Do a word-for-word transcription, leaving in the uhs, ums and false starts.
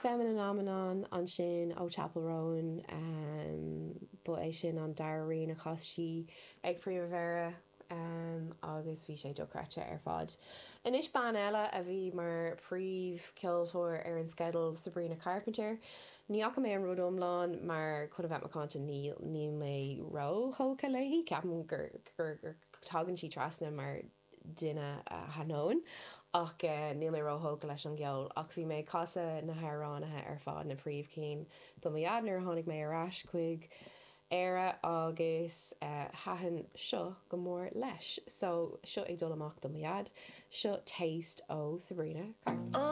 Femininomenon ansin ó Chappell Roan um, ba é sin an dara rian a chas sí ag Primavera um, agus bhí sé dochreidte ar fad. Anois bean eile a bhí mar príomhcheoltóir ar an sceideal Sabrina Carpenter. Ní fhaca mé an rud iomlán mar chun a bheith macánta ní ní mé róthógtha léi ceapaim gur gur gur tagann sí trasna mar duine a thaitníonn ach uh, níl mé róthógtha leis an gceol ach bhí mé ag casadh na hamhráin ar fad na príomhchinn do mo dhaid nuair a tháinig mé ar ais chuig Éire agus uh, thaitin seo go mór leis, so seo ag dul amach do mo dhaid, seo Taste ó Sabrina Carpenter. Oh,